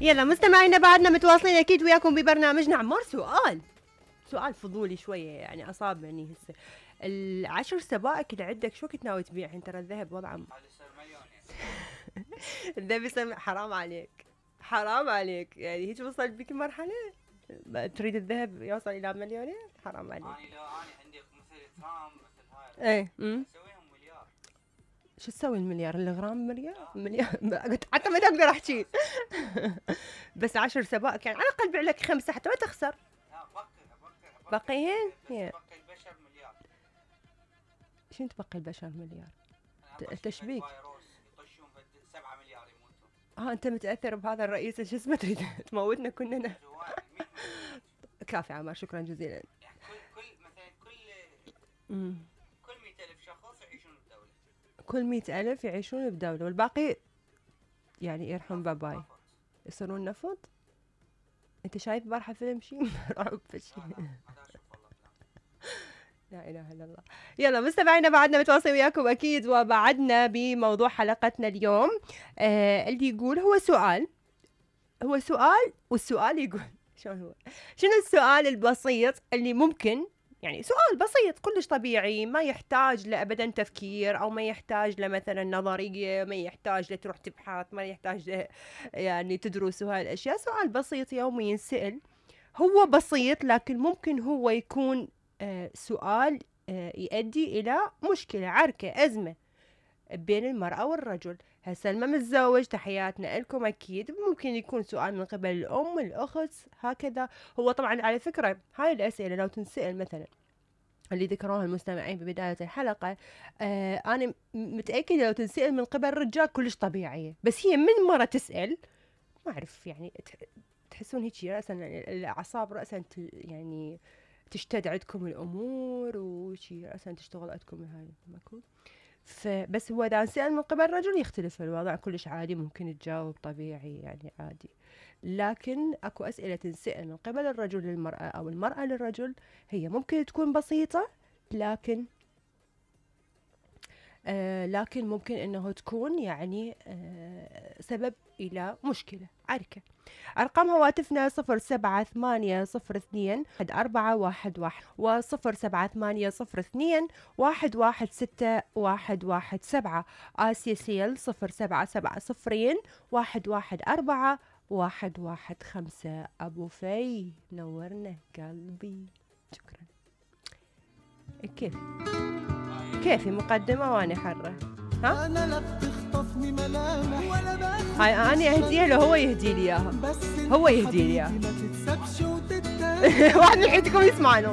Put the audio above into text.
يلا مستمعينا بعدنا متواصلين اكيد وياكم ببرنامجنا عمار. سؤال فضولي شويه يعني اصابني هسه. ال10 سبائك اللي عندك شو كنت ناوي تبيعهن؟ ترى الذهب وضعه يصير مليون. الذهب يصير حرام عليك يعني هيك وصل بك المرحله تريد الذهب يوصل الى مليونين؟ حرام عليك. اني لو اني عندي مثل ترام مثل هاي ايه اسويهم مليار. شو تسوي المليار؟ الغرام مليار حتى ما اقدر احكي. بس 10 سبائك يعني على الاقل بيع لك 5 حتى ما تخسر. لا باقيين بقي البشر مليار. شنو تبقي البشر مليار؟ تشبيك يطشون 7 مليار يموتون. انت متاثر بهذا الرئيس شو اسمه تريد تموتنا كلنا؟ كافي عمار شكرا جزيلا. يعني كل مثلا كل 100,000 شخص يعيشون بدولة. كل 100,000 يعيشون بدولة والباقي يعني يرحم باباي يصيرون نفط. انت شايف بارحة فيلم شيء رعب فشي؟ لا اله الا الله. يلا مستمعينا بعدنا متواصلين وياكم اكيد وبعدنا بموضوع حلقتنا اليوم. اللي يقول هو سؤال والسؤال يقول شلون هو؟ شنو السؤال البسيط اللي ممكن يعني سؤال بسيط كلش طبيعي ما يحتاج لأبدا تفكير او ما يحتاج لمثلا نظرية، ما يحتاج لتروح تبحث، ما يحتاج يعني تدرس هاي الاشياء. سؤال بسيط يومي ينسأل، هو بسيط لكن ممكن هو يكون سؤال يؤدي الى مشكلة، عركة، ازمة بين المرأة والرجل. هسه لما متزوج تحياتنا لكم اكيد ممكن يكون سؤال من قبل الام، الاخت، هكذا. هو طبعا على فكرة هاي الاسئلة لو تنسأل مثلا اللي ذكروها المستمعين ببداية الحلقة، انا متأكدة لو تنسأل من قبل الرجال كلش طبيعية، بس هي من مرة تسأل ما اعرف يعني تحسون هيك رأسا الاعصاب رأسا يعني تشتد عندكم الامور وشي رأسا تشتغل عندكم هاي ماكو. فبس هو اذا سأل من قبل رجل يختلف الوضع كلش عادي، ممكن تجاوب طبيعي يعني عادي. لكن اكو اسئله تنسأل من قبل الرجل للمراه او المراه للرجل هي ممكن تكون بسيطه لكن ممكن انه تكون يعني سبب الى مشكله، عركه. ارقام هواتفنا 0780214111 و0780211617. آسيا سيل 0770211415. ابو في نورنا قلبي شكرا. كيفي مقدمة وانا حرة ها؟ انا لا بتخطفني ملامح ولا هاي انا اهديها له هو يهدي لي اياها. هو يهدي لي اياها. ما تتسبش وتتاكل. واحد من حياتكم يسمعني.